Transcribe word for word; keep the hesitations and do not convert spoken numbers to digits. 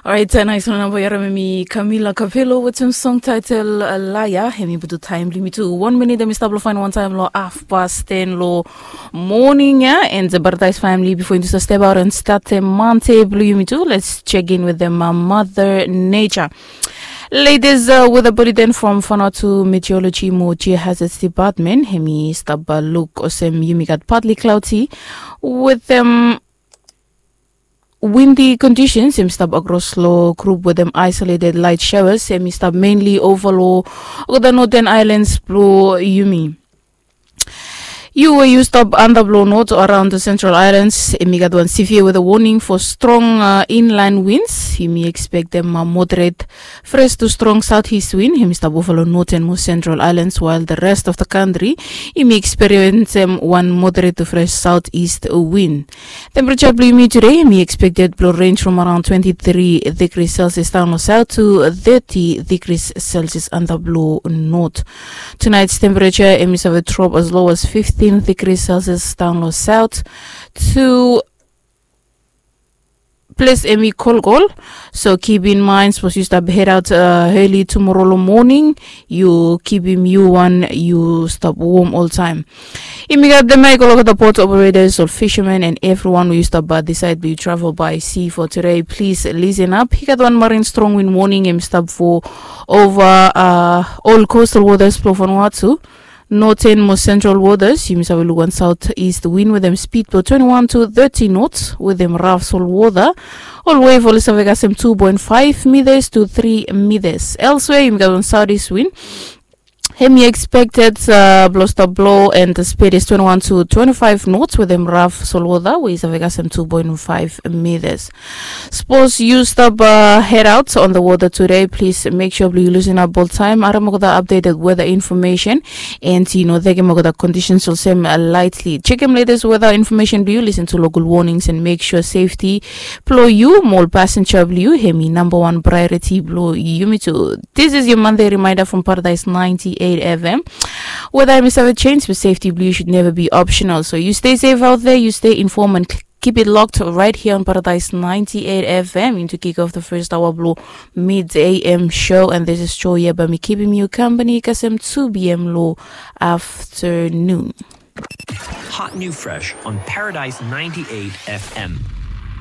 Orait, nais long namba yu harim em i Camila Capello wetem song title Laya. Em i putum taem blong yumi tu wan minit, em i stap long fain wan taem long hafpas ten long moning ya. And the Paradise family, before yumi tu step out and start the Monday blong yumi tu, let's check in with them, uh, Mother Nature. Latest uh, weather bulletin from Vanuatu Meteorology mo Geohazards Department. Em i stap uh, look olsem yumi gat partly cloudy with um, windy conditions. Em i stap across long group wetem isolated light showers. Em i stap mainly over long olgeta northern islands blong yumi. Yu we yu stap antap long north o around the central islands, em i gat wan severe weather warning for strong uh, inland winds. Yumi expectem uh, moderate fresh to strong southeast wind. Em i stap over long northern mo central islands, while the rest of the country yumi experiencem wan moderate to fresh southeast wind. Temperature blong yumi today em i expected blong range from around twenty-three degrees Celsius down long south to thirty degrees Celsius antap long north. Tonight's temperature em i save drop as low as fifteen degrees Celsius down long south to ples em i kolkol. So keep in mind, sapos yu stap head out uh, early tomorrow long morning, yu kipim yu wan yu stap warm oltaem. Yumi gat dem ya i go long olgeta port operators, ol fishermen and everyone we yu stap uh, decide blong yu travel by sea for today. Please listen up. I gat wan marine strong wind warning em i stap for over uh, all coastal waters blong Vanuatu. Northern mo central waters, yumi save luk wan southeast wind wetem speed blong twenty-one to thirty knots wetem rough solwota. Ol wave oli save kasem two point five meters to three meters. Elsewhere yumi gat wan southeast wind. Em i expected uh, blong stap blow and the speed is twenty-one to twenty-five knots wetem rough solwota we i save kasem two point five meters. Sapos yu stap uh, head out on the water today, please make sure blong yu listen up oltaem. Harim olgeta updated weather information and yu no tekem olgeta conditions olsem uh, lightly. Chekem latest weather information blong yu, listen to local warnings and make sure safety blong yu mo ol passenger blong yu em i number one priority blong yumi tu. This is your Monday reminder from Paradise ninety-eight F M. Weather em i save change, but safety blong yu should never be optional. So you stay safe out there, you stay informed and keep it locked right here on Paradise ninety-eight F M. Into kick off the first hour blong mid A M show, and this is Joy Yeba, mi kipim yu company kasem two P M long afternoon. Hot new fresh on Paradise ninety-eight F M.